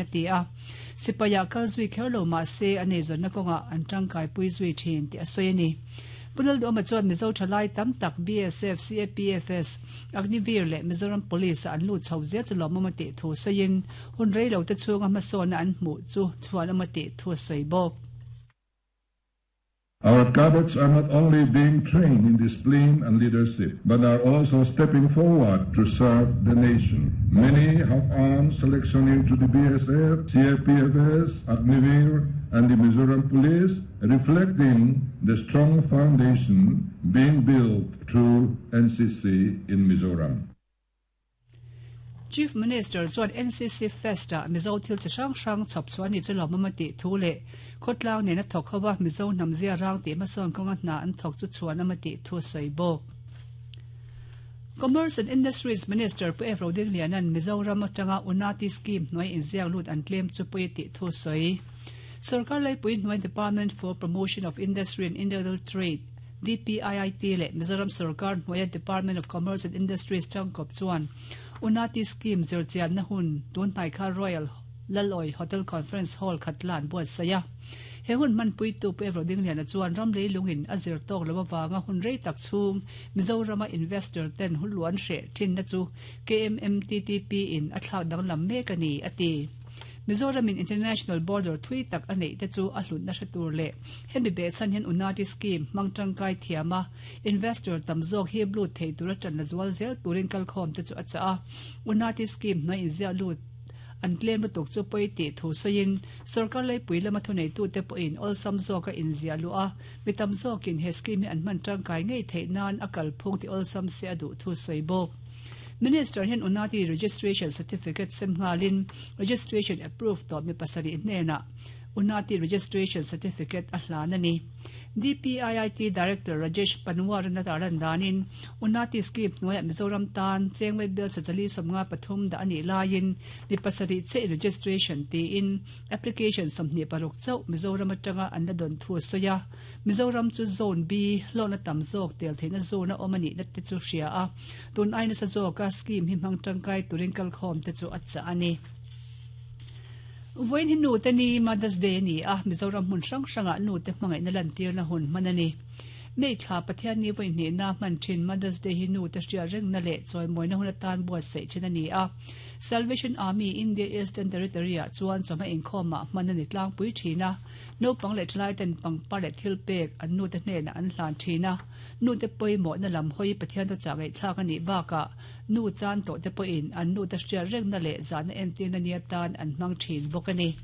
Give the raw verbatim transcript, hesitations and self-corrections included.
Ti a sipaya kal zui kherlo ma se ane zon na konga an tangkai pui zui thin ti a soi ani punal do ma chuan Mizo thalai tam tak B S F C A P F S Agnivir le Mizoram Police an lu chho ze chu lomama ti thu soin hun rei lo te chunga ma so na an mu chu chuan ama ti thu soi bok. Our cadets are not only being trained in discipline and leadership, but are also stepping forward to serve the nation. Many have earned selection into the B S F, C A P F S, Agnivir, and the Mizoram Police, reflecting the strong foundation being built through N C C in Mizoram. Chief Minister chuan N C C Festa Mizo thil chi hrang hrang chhawp chuan ni chu lawmawm ti thu leh khawtlang nena thawk hawa Mizo hnamzia rang tih hmasawn kawnga hna an thawk chu chuan ama tih thu sawi bawk. Commerce and Industries Minister Pu F Roding Lianan Mizoram atanga Unati scheme hnuai inziak lut an tlem chu pui tih thu sawi. Sarkar Laipui hnuai Department for Promotion of Industry and Internal Trade D P I I T le Mizoram Sarkar hnuai Department of Commerce and Industries tangkawp chuan Unati scheme zirchian na hun tun hnai kha Royal Laloi Hotel Conference Hall khatlan buat saya. He hun man pui tu pu Roding Liana chuan ram lei lungin a zir tok lo wanga hun rei tak chung Mizorama investor ten hun luan hre thin na chu K M M T T P in a thlak dang lam mek ani ati. Mizoram in international border thui tak anei te chu a hlun na hretur le hemi be chan hian Unati scheme mangtangkai thiama investor tamzok hi blu thei tura tan na zual zel turin kalkhom te chu a cha a Unati scheme na in zia lut an claim tuk chu poi ti thu soin sarkar lei pui lama thunei tu te po in all sam zoka in zia lu a mitam zokin he scheme an man tangkai ngei thei nan akal phung ti all sam se adu thu soi bok. Minister hian Unati registration certificate semngalin registration approved to mi pasari hnena Unati registration certificate a hlan ani. D P I I T Director Rajesh Panwar na taran danin Unati scheme hnuaia Mizoram tan chengwei bel chali somnga pathum da ani lain mi pasari che registration ti in application samni paruk chau Mizoram atanga an la don thu soya Mizoram chu zone B lona tam zok tel theina zone a omani na te chu hria a tun aina sa zoka scheme hi hmang tangkai turin kal khom te chu acha ani. Voin hin nu te ni Mother's Day ni a Mizoram hun hrang hranga nu te hmangai na lan tir na hun manani mei thla Pathian ni voin ni na man thin Mother's Day hi nu te hria reng na le choi moi na hun atan buat sei thin ani a Salvation Army India Eastern Territory a chuan chama inkhawma manani tlang pui thina no pang le thlai ten pang pa le thil pek an nu te hne na an hlan thina nu te poi mo na lam hoi Pathian to changai thlak ani ba ka nu chan to te po in an nu te hria reng na le zan en tin na nia tan an mang thin bokani.